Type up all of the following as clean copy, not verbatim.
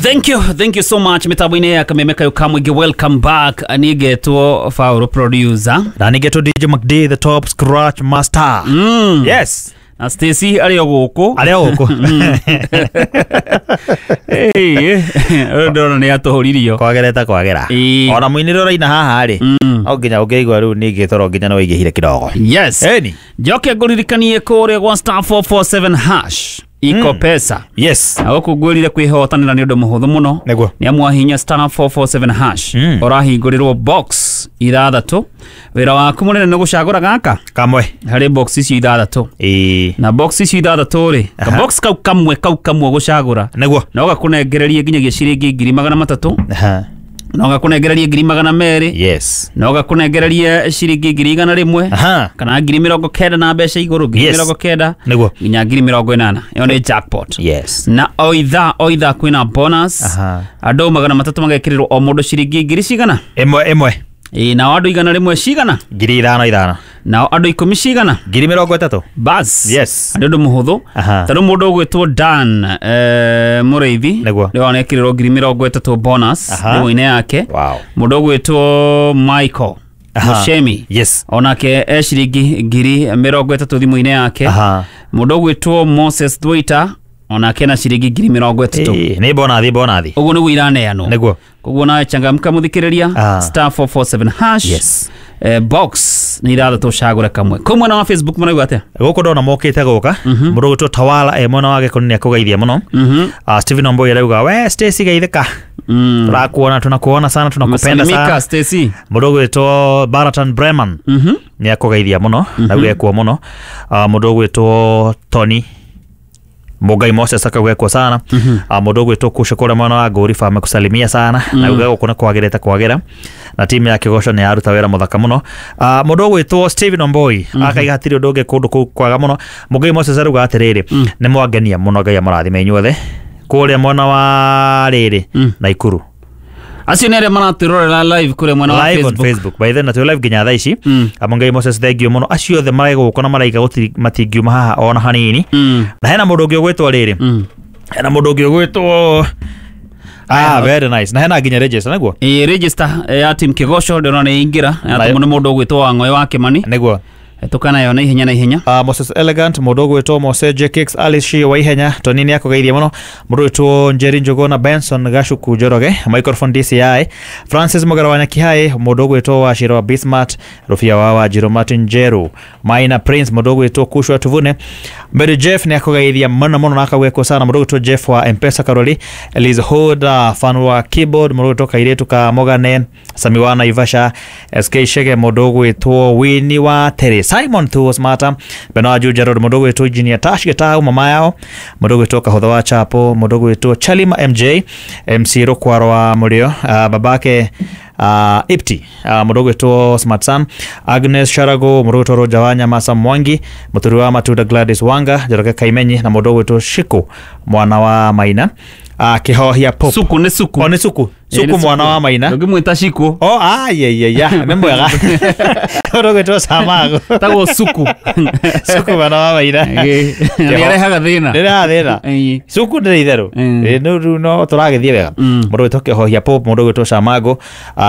Thank you, thank you so much. Mitambo-inĩ ya Kameme Kayo Kamwingĩ, welcome back. Niĩ ngetwo Fauro producer. Na nĩgetwo DJ McD the top scratch master. Yes. Na Stacy arĩ o gũkũ. Arĩ o gũkũ. Ũyũ ndĩrona nĩ atũhũririo. Kwagereta kwagera. Ĩĩ. Ona mũinĩre ũraina haha rĩ. No nginya ũngĩigua rĩu ningĩ toro nginya nĩ waingĩhire kidogo. Yes. Ĩni. Njoke ngũririkanie kũrĩa gwa star 447 hash iko pesa. Yes. Na gũkũ ngwĩrire kwĩhotanĩra nĩ ũndũ mũhũthũ mũno. Nĩguo. Nĩ amu wahihinya star 447 hash ũrahingũrĩrwo box ithathatũ. Wĩra waku mũnene nĩ gũcagũra gaka Kamwe. harĩ box icio ithathatũ. Ĩĩ. Na box icio ithathatũ rĩ, ka box kau kamwe kau kamwe gũcagũra Nĩguo. no gakũnengererie nginyagia ciringi 300,000, Aha. no gakũnengererie 200,000, Yes. no gakũnengererie ciringi 100,000 Aha. kana 90,000 na mbeca igũrũ, ngiri Yes. 90 Nĩguo. nginya 80,000. Ĩyo nĩ jackpot. Yes. Na o ithaa o ithaa kwĩna bonus. Aha. Andũ 300 magekĩrĩrwo o mũndũ ciringi ngiri cigana. Ĩmwe ĩmwe. Ĩĩ, nao andũ 100 cigana, 5,000 5. nao andũ 10 cigana. 30,000. Bas. Yes. Nĩ ũndũ mũhũthũ. Aha. Ta rĩu mũndũ ũgwĩtwo Dan Mũrĩithi Nĩguo. nĩwe wanekĩrĩrwo 30,000 bonus Aha. thimũ-inĩ yake. Wow. Mũndũ ũgwĩtwo Michael Aha. Mushemi Yes. onake e ciringi 30,000 thimũ-inĩ yake. Aha. Mũndũ ũgwĩtwo Moses Thwaita onake na ciringi 30,000. Ĩĩ, nĩ bonathi bonathi. Ũguo nĩguo iraneanwo. Nĩguo. Koguo nawe changamka mũthikĩrĩria, Ah. star 447 hash. Yes. Box nĩ ithathatũ, cagũre kamwe. Kũu mwena wa Facebook marauga atĩa? Gũkũ ndona mokĩte gũka mũndũ ũgwĩtwo Tawala e mwena wa Gĩkoni nĩ akũgeithia mũno. Stephen Omboi arauga we Stacy geithĩka. Tũrakuona, tunakuona sana, tunakupenda Salimika sana. Stacy. Mũndũ ũgwĩtwo Baratan Breman nĩ akũgeithia mũno na auga ekuo mũno. Mũndũ ũgwĩtwo Tony Mũngai Moses akauga ekuo sana. Mũndũ ũgwĩtwo Kusho kũrĩa mwena wa Ngũriba amekusalimia sana na auga gũkũ nĩ kwagĩrĩte kwagĩra na timu ya Kĩgoco nĩ yaruta wĩra mũthaka mũno. Mũndũ ũgwĩtwo Stephen Omboi akaiga hatirĩ ũndũ ũngĩ kũndũ kũu kwaga mũno. Mũngai Moses arauga atĩrĩrĩ, nĩ mwangenia mũno, Ngai amũrathime inyuothe kũrĩa mwena wa rĩrĩ Naikuru. Acio nĩ arĩa maratwĩrorera live kũrĩa mwena wa Live on Facebook. Facebook by then na twĩ live nginya thaa ici. Mũngai Moses thank you mũno, acio othe marĩ na maraiga gũtirĩ matingiuma haha ona hanini. Na hena mũndũ ũngĩ ũgwĩtwo rĩrĩ, hena mũndũ ũngĩ ũgwĩtwo very nice, na hena nginya register nĩguo. Ĩ, register ya team Kĩgoco ndĩrona nĩ ingĩra yatũmwo nĩ mũndũ ũgwĩtwo Wang'oĩ wa Kĩmani. Nĩguo. Tukanayo na ihenya na ihenya. Moses Elegant, mũndũ ũgwĩtwo Mose Jekix, Alice Shi wa Ihenya, Tony nĩ akũgeithia mũno, mũndũ ũgwĩtwo Njeri Njuguna, Benson Gacuku Njoroge, Microphone DCI, Francis Mũgera wa Nyakihai, mũndũ ũgwĩtwo Wachira wa Bismart, Rufia wa Wanjiru, Martin Njeru, Maina Prince, mũndũ ũgwĩtwo Kushwa Tuvune, Mary Jeff nĩ akũgeithia mũno mũno na akagwekwo sana, mũndũ ũgwĩtwo Jeff wa Mpesa Karoli, Eliz Hood, fan wa keyboard, mũndũ ũgwĩtwo Kairĩtu ka Mogane, Sami wa Naivasha, SK Shege, mũndũ ũgwĩtwo Winnie wa Tere, Simon Thuo Smata, Benoa Juja Road, mũndũ ũgwĩtwo Engineer Tash Gitau mama yao, mũndũ ũgwĩtwo Kahũtho wa Chapo, mũndũ ũgwĩtwo Chalima MJ, MC Rũkwaro wa Mũrĩo, babake Ipti, mũndũ ũgwĩtwo Smart Sam, Agnes Sharago, mũndũ ũgwĩtwo Roger wa Nyamasa Mwangi, mũturi wa Matunda Gladys Wanga, Njoroge Kaimenyi na mũndũ ũgwĩtwo Shiku mwana wa Maina, Kĩhohia Pop. Suku nĩ suku. O nĩ Suku. Suku mwana wa Maina. Ndũngĩmwĩta Shiku. Oh, ya nĩ mwega. Mũndũ ũgwĩtwo Samago. Tagwo Suku. Suku mwana wa Maina. Nĩ arehaga thĩna. Ndĩraha thĩna. Ĩĩ. Suku ndĩrĩ itherũ. Ĩĩ, rĩu no tũragĩthiĩ wega. Mũndũ ũgwĩtwo Kĩhohia Pop, mũndũ ũgwĩtwo Samago,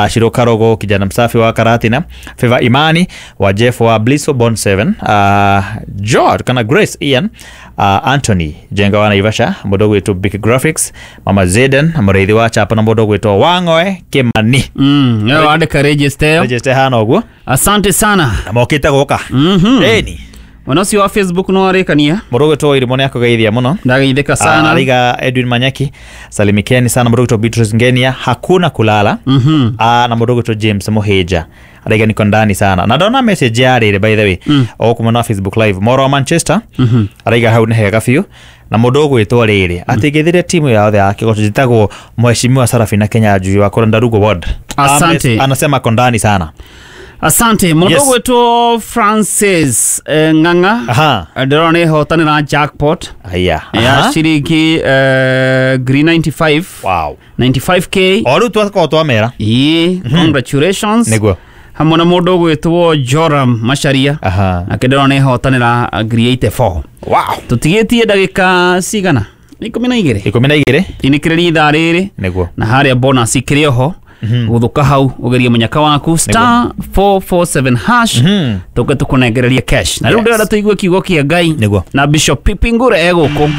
Shiro Karogo, kijana msafi wa Karatina, Favor Imani wa Jeff wa Blisso Bond 7, George kana Grace Ian, Anthony Jenga wa Naivasha, mũndũ ũgwĩtwo Big Graphics, Mama Zeden, mũrĩithi wa Chapa na mũndũ ũgwĩtwo Wang'oe Kĩmani. Ĩyo wandĩka register ĩyo. Register hana ũguo. Asante sana. Na mokĩte gũka. Ĩni. Mwena ũcio wa Facebook no warĩkania. Mũndũ ũgwĩtwo Irimũ nĩ akũgeithia mũno. Ndageithĩka sana. Ariga Edwin Manyaki, salimikeni sana. Mũndũ ũgwĩtwo Beatrice Ngenia, hakuna kulala. Na mũndũ ũgwĩtwo James Muhĩja araiga niko ndani sana, na ndona message ya rĩrĩ by the way o kuma na Facebook live moro wa Manchester araiga hau nĩ hega biũ, na mũndũ ũgwĩtwo rĩrĩ atĩ ngĩthire timu yothe ya Kĩgoco njĩtagwo Mheshimiwa Sarafina Kenya Njui wa Kũrenda Ward. Asante. Anasema ako ndani sana. Asante. Mũndũ Yes. ũgwĩtwo Francis Ng'ang'a Aha. ndĩrona nĩ hotanĩra jackpot Aya. ya Aha. ciringi ngiri 95. Wow. 95K. O rĩu twakorwo twamera. Ĩĩ, congratulations. Nĩguo. Hamwe na mũndũ ũgwĩtwo Joram Macharia. Aha. Nake ndĩrona nĩ hotanĩra ngiri 84. Wow. Tũtigĩtie ndagĩka cigana? Nĩ 12. 12. Inĩkĩrĩria ithaa rĩrĩ. Nĩguo. Na harĩa bonus ikĩrĩ oho gũthũka hau ũgerie mũnyaka waku star 447 hash, tũke tũkũnengererie cash. Na rĩu ndĩrenda tũigue kiugo kĩa Ngai Nĩguo. na Bishop Pipi Ngure egũkũ.